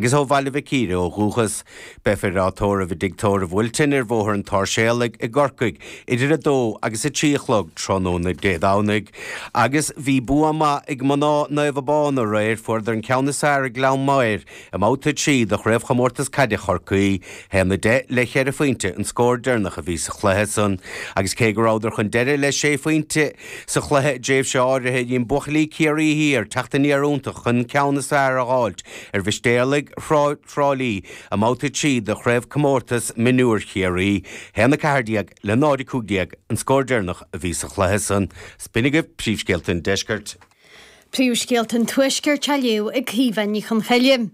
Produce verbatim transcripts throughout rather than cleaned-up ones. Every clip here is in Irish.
Agus ó Bhaile Mhic Íre ó dhúchas. Beifear á tórramh i dTigh Tórraimh Wilton ar Bhóthar an tSáirséalaigh i gCorcaigh idir a dó agus a trí a chlog tráthnóna Dé Domhnaigh. Agus bhí bua maith ag mná Naomh Abán aréir, fuaireadar an ceann is fearr ar Ghleann Maghair i mbabhta a trí de Chraobhchomórtas Caide Chorcaí, haon a deich le cheithre phointe an scór deireanach a bhí sa chluiche san. Agus cé go rabhadar chun deiridh le sé phointe sa chluiche i dtréimhse áirithe, dhein buachaillí Chiarraí Thiar teacht aniar iontach chun an ceann is fearr a dh'fháilt ar Mhistéalaigh Thrá Lí i mbabhta a trí de Chraobhchomórtas Mionúir Chiarraí, haon a ceathair déag le náid a cúig déag an scór deireanach a bhí sa chluiche san. B'in agaibh príomhscéalta an deiscirt. Príomhscéalta an Tuaiscirt á léamh ag Caoimhe Ní Chonchoille.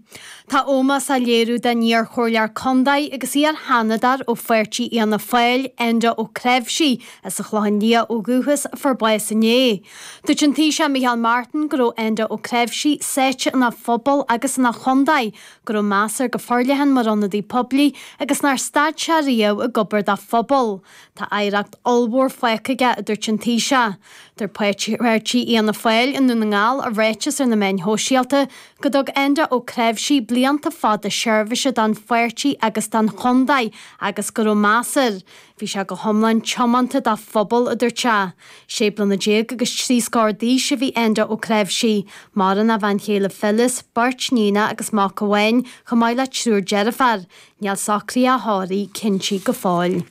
Tá ómós á léiriú don iar-chomhairleoir contae agus iar-sheanadóir ó pháirtí Fhianna Fáil, Enda Ó Cnáimhsí, as an Chlochán Liath ó dhúchas, a fuair bás inné. Dúirt an Taoiseach Micheál Martin go raibh Enda Ó Cnáimhsí sáite ina phobal agus ina chontae, go raibh meas air go forleathan mar ionadaí poiblí agus nár stad sé riamh ag obair dá phobal. Tá oidhreacht ollmhór fágtha aige, a dúirt an Taoiseach. Dúirt páirtí Fhianna Fáil i nDún na nGall i ráiteas ar na meáin shóisialta go dtug Enda Ó Cnáimhsí blianta fada seirbhíse don pháirtí agus don chontae agus go raibh meas air. Bhí sé go hiomlán tiomanta dá phobal, a dúirt sé. Sé bliana déag agus trí scór d'aois a bhí Enda Ó Cnáimhsí. Maireann a bhean chéile Phyllis, beirt níonacha agus mac amháin, chomh maith le triúr deirfiúr. Níl socruithe a thórraimh cinnte go fóill.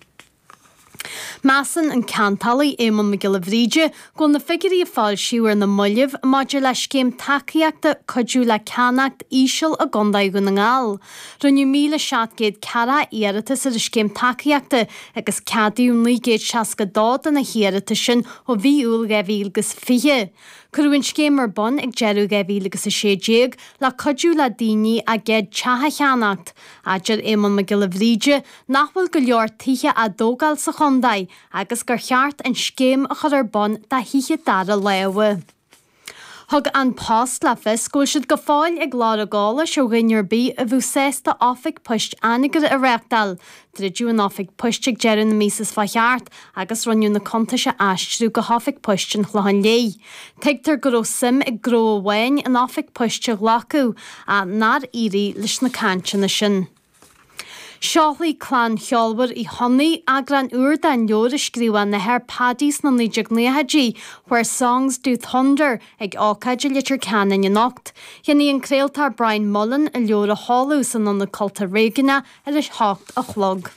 Measann an ceantálaí Éamonn Mac Giolla Bhríde go bhfuil na figiúirí a foilsíodh ar na mallaibh maidir le scéim tacaíochta cuidiú le ceannacht íseal i gContae Dhún na nGall. Rinneadh míle seacht gcéad ceathracha iarratas ar an scéim tacaíochta agus ceadaíodh naoi gcéad seasca dó de na hiarratais sin ó mhí Iúil dhá mhíle agus fiche. Cuireadh an scéim ar bun ag deireadh dhá mhíle agus a sé déag le cuidiú le daoine a gcéad teach a cheannacht. Deir Éamonn Mac Giolla Bhríde nach bhfuil go leor tithe á dtógáil sa chontae agus gur cheart an scéim a chur ar bun do thithe dara láimhe. Thug An Post le fios go bhfuil siad go fóill ag lorg eolais ó dhuine ar bith a bheadh sásta oifig poist Anagaire a reáchtáil. Druideadh an oifig poist ag deireadh na míosa seo chuaigh thart agus rinneadh na cuntais a aistriú go hoifig poist an Chlocháin Léith. Tuigtear go raibh suim ag gnó amháin an oifig poist a ghlacadh ach nár éirigh leis na cainteanna sin. Seolfaidh clann cheolmhar Uí Chonnaith eagrán úr den leabhar a scríobh a n-athair Paddy sna naoi déag nóchaidí, Where Songs Do Thunder, ag ócáid i Leitir Ceanainn anocht. Déanfaidh an craoltóir Brian Mullen an leabhar a sheoladh san Ionad Cultúir Réigiúnach ar a hocht a chlog.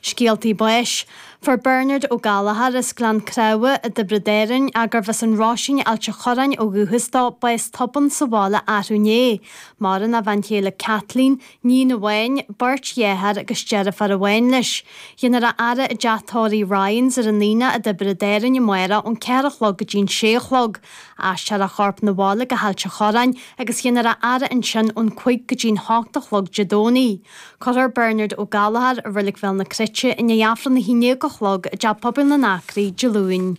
Scéaltaí báis. Fuair Bernard Ó Gallchóir as Gleann Creamha i dTiobraid Árann, gurbh as an Roisín Ailt a' Chorráin ó dhúchas dó, bás tobann sa bhaile arú inné. Maireann a bhean chéile Kathleen, níon amháin, beirt dheartháir agus deirfiúr amháin leis. Déanfar a fhaire i dteach tórraimh Ryans ar an Aonach i dTiobraid Árann amárach ón ceathair a chlog go dtí'n sé a chlog. Aistreofar a chorp 'na bhaile go hAilt a' Chorráin agus déanfar a fhaire ansin ón cúig go dtí'n hocht a chlog Dé Domhnaigh. Cuirfear Bernard Ó Gallchóir i Reilig Bhéal na Cruite i ndiaidh Aifreann a haon déag a chlog i dTeach Pobail na nAcraí Dé Luain.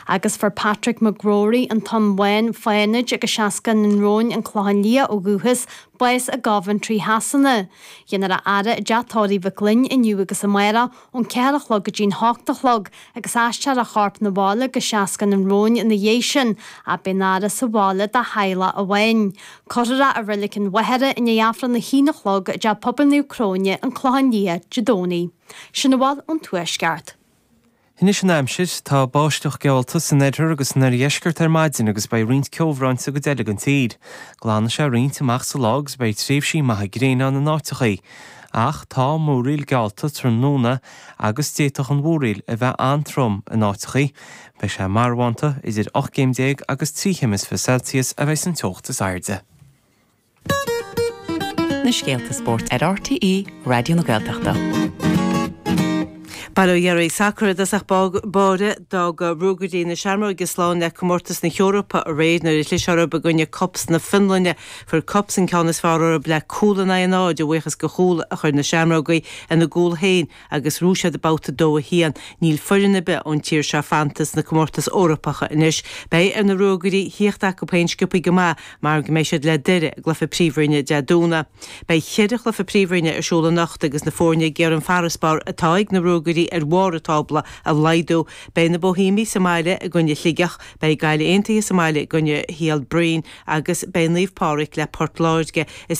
Agus fuair Patrick McGrory, an Tonn Bhán, Fánaid agus Seascann an Róin an Clochán Liath ó dhúchas, bás i gCoventry Shasana. Déanfar a fhaire i dteach tórraimh Mhic Fhloinn inniu agus amárach ón ceathair a chlog go dtí'n hocht a chlog agus aistreofar a chorp 'na bhaile go Seascann an Róin ina dhiaidh sin, ach beidh an fhaire sa bhaile dá theaghlach amháin. Cuirfear é i Reilig an Mhachaire i ndiaidh Aifreann a haon a chlog i dTeach Pobail Naomh Cróine, an Clochán Liath, Dé Domhnaigh. Sin a bhfuil ón Tuaisceart. Anois an aimsir, tá báisteach geallta san oirthear agus san oirdheisceart ar maidin agus beidh roinnt ceobhráin sa gcuid eile den tír. Glanfaidh sé roinnt amach sa lá agus beidh tréimhsí maithe gréine ann in áiteachaí. Ach tá múraíl geallta tráthnóna agus d'fhéadfadh an mhúraíl a bheith an-trom in áiteachaí. Beidh sé marbhánta idir ocht gcéim déag agus trí chéim is fiche Celsius a bheidh san teocht is airde. Na scéalta spóirt ar RTÉ Raidió na Gaeltachta. Bail ó Dhia oraibh. Sacar i dtosach báire d'fhág Ruagairí na Seamróige slán le comórtas na hEorpa aréir nuair a chlis orthu i gcoinne KuPS na Fionlainne. Fuair KuPS an ceann is fearr orthu le cúl in aghaidh a náid a bhuíochas do chúl a chuir na Seamrógaí ina gcúl féin agus bhuaigh siad babhta dó a haon. Níl foireann ar bith ón tír seo fanta sna comórtais Eorpacha anois. Beidh ar na Ruagairí thíocht acu féin sciobthaí go maith mar go mbeidh siad le Doire i gcluiche príomhroinne Dé Domhnaigh. Beidh ceithre chluiche príomhroinne ar siúl anocht agus na foirne ag iarraidh an farasbarr atá ag na Ruagairí pointí ar bharr an tábla a laghdú. Beidh na Boihéamaigh sa mbaile i gcoinne Shligeach, beidh Gaillimh Aontaithe sa mbaile i gcoinne Shíol Broin agus beidh Naomh Pádraig le Port Láirge. Is